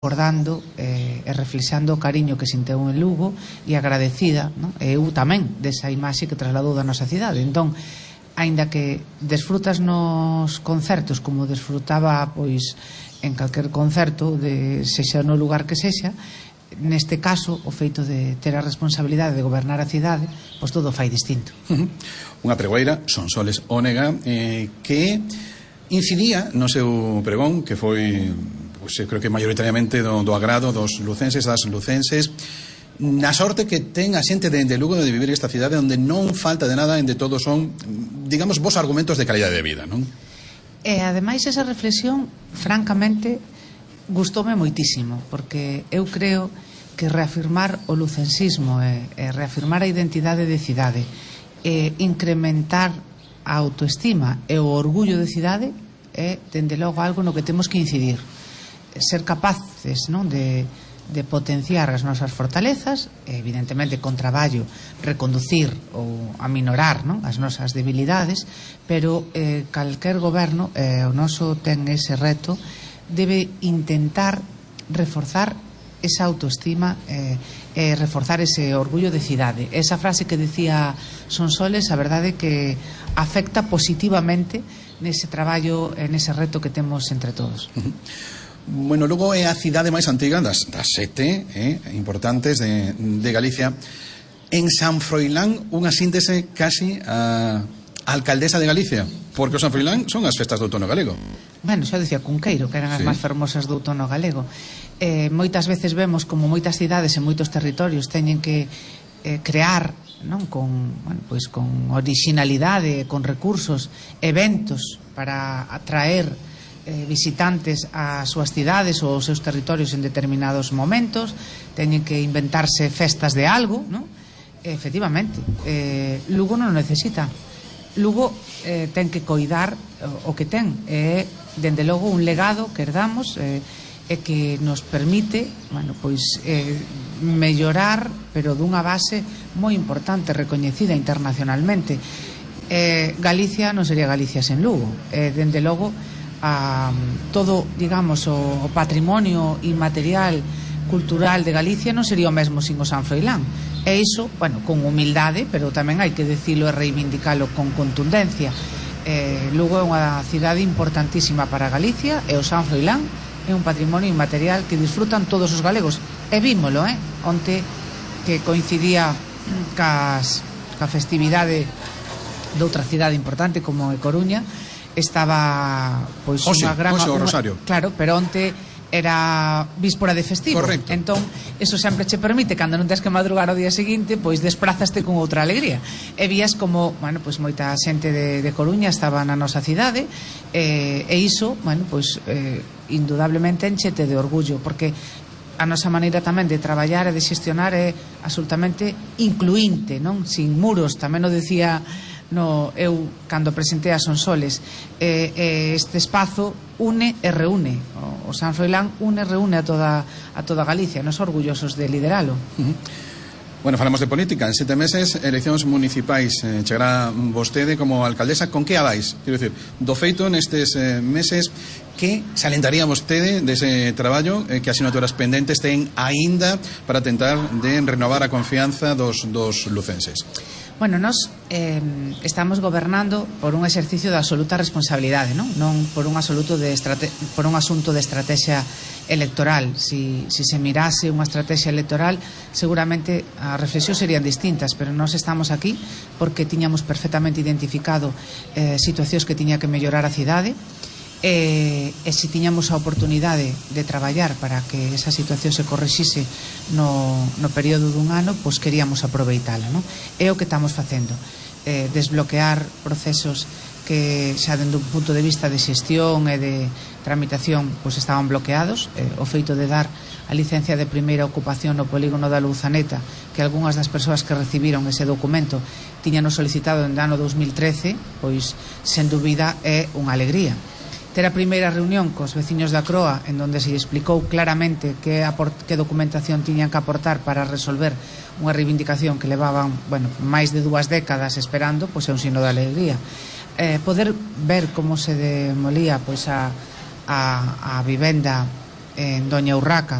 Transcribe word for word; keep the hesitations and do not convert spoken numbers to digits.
recordando eh, e reflexando o cariño que sinteu en Lugo e agradecida, non? E eu tamén desa imaxe que trasladou da nosa cidade. Entón, aínda que desfrutas nos concertos como desfrutaba pois en calquer concerto, de sexa no lugar que sexa, neste caso o feito de ter a responsabilidade de gobernar a cidade, pois todo fai distinto. Uh-huh. Unha pregoeira, Sonsoles Ónega, eh, que incidía no seu pregón, que foi, pois, eu creo que maioritariamente do, do agrado dos lucenses, das lucenses, na sorte que ten a xente de, de Lugo de vivir esta cidade onde non falta de nada, onde todos son, digamos, vos argumentos de calidade de vida, non? E ademais esa reflexión, francamente, gustoume moitísimo, porque eu creo que reafirmar o lucensismo e, e reafirmar a identidade de cidade e incrementar a autoestima e o orgullo de cidade é, dende logo, algo no que temos que incidir. Ser capaces, non, de, de potenciar as nosas fortalezas, e, evidentemente, con traballo, reconducir ou aminorar, non, as nosas debilidades, pero eh, calquer goberno, eh, o noso ten ese reto, debe intentar reforzar esa autoestima e eh, eh, reforzar ese orgullo de cidade. Esa frase que decía Sonsoles, a verdade que afecta positivamente nese traballo, nese reto que temos entre todos. Uh-huh. Bueno, logo é a cidade máis antiga das, das sete eh, importantes de, de Galicia. En San Froilán, unha síntese casi a alcaldesa de Galicia, porque o San Froilán son as festas do outono galego. Bueno, xa dicía Cunqueiro, que eran as sí. máis fermosas do outono galego. Eh, moitas veces vemos como moitas cidades e moitos territorios teñen que eh, crear, non, con, bueno, pois con originalidade, con recursos, eventos para atraer eh, visitantes ás súas cidades ou aos seus territorios en determinados momentos, teñen que inventarse festas de algo, non? E, efectivamente, eh, Lugo non necesita. Lugo eh, ten que coidar o, o que ten, e dende logo un legado que herdamos eh, e que nos permite, bueno, pois eh, mellorar, pero dunha base moi importante, recoñecida internacionalmente. Eh, Galicia non sería Galicia sen Lugo. Eh, dende logo, a, todo, digamos, o, o patrimonio inmaterial cultural de Galicia non sería o mesmo sin o San Froilán. E iso, bueno, con humildade, pero tamén hai que dicilo e reivindicalo con contundencia. Eh, Lugo é unha cidade importantísima para Galicia, e o San Froilán é un patrimonio inmaterial que disfrutan todos os galegos. E vímolo, eh? Onte que coincidía cas, ca festividade de outra cidade importante como é Coruña, estaba pois Oxe, unha gran... Oxe, o unha, Rosario. claro, pero onte era víspora de festivo. Correcto. Entón, eso sempre che permite, cando non tens que madrugar ao día seguinte, pois desprazaste con outra alegría. E vías como, bueno, pois moita xente de, de Coruña estaba na nosa cidade, e, e iso, bueno, pois eh, indudablemente enchete de orgullo, porque a nosa maneira tamén de traballar e de xestionar é absolutamente incluinte, non? Sin muros, tamén o decía no, eu cando presentei a Sonsoles, eh, eh, este espazo une e reúne, o, o San Froilán une e reúne a toda, a toda Galicia, nos orgullosos de lideralo. Uh-huh. Bueno, falamos de política. En sete meses, eleccións municipais. Eh, chegará vostede como alcaldesa. Con que abais? Quero dicir, do feito nestes eh, meses, que salentaría vostede dese traballo, eh, que asinaturas pendentes ten aínda para tentar de renovar a confianza dos, dos lucenses? Bueno, nós eh, estamos gobernando por un exercicio de absoluta responsabilidade, non? Non por un absoluto de estrate- por un asunto de estrategia electoral. Si, si se mirase unha estrategia electoral, seguramente as reflexións serían distintas, pero nós estamos aquí porque tiñamos perfectamente identificado eh, situacións que tiña que mellorar a cidade, e, e se tiñamos a oportunidade de traballar para que esa situación se correxise no, no período dun ano, pois queríamos aproveitala, non? É o que estamos facendo, eh, desbloquear procesos que xa dende un punto de vista de xestión e de tramitación pois estaban bloqueados. Eh, o feito de dar a licencia de primeira ocupación no polígono da Louzaneta, que algunhas das persoas que recibiron ese documento tiñanos solicitado en ano dos mil trece, pois sen dúbida é unha alegría. Ter a primeira reunión cos veciños da Croa, en donde se explicou claramente que, que documentación tiñan que aportar para resolver unha reivindicación que levaban, bueno, máis de dúas décadas esperando, pois é un signo de alegría. Eh, poder ver como se demolía pois a, a, a vivenda en Doña Urraca,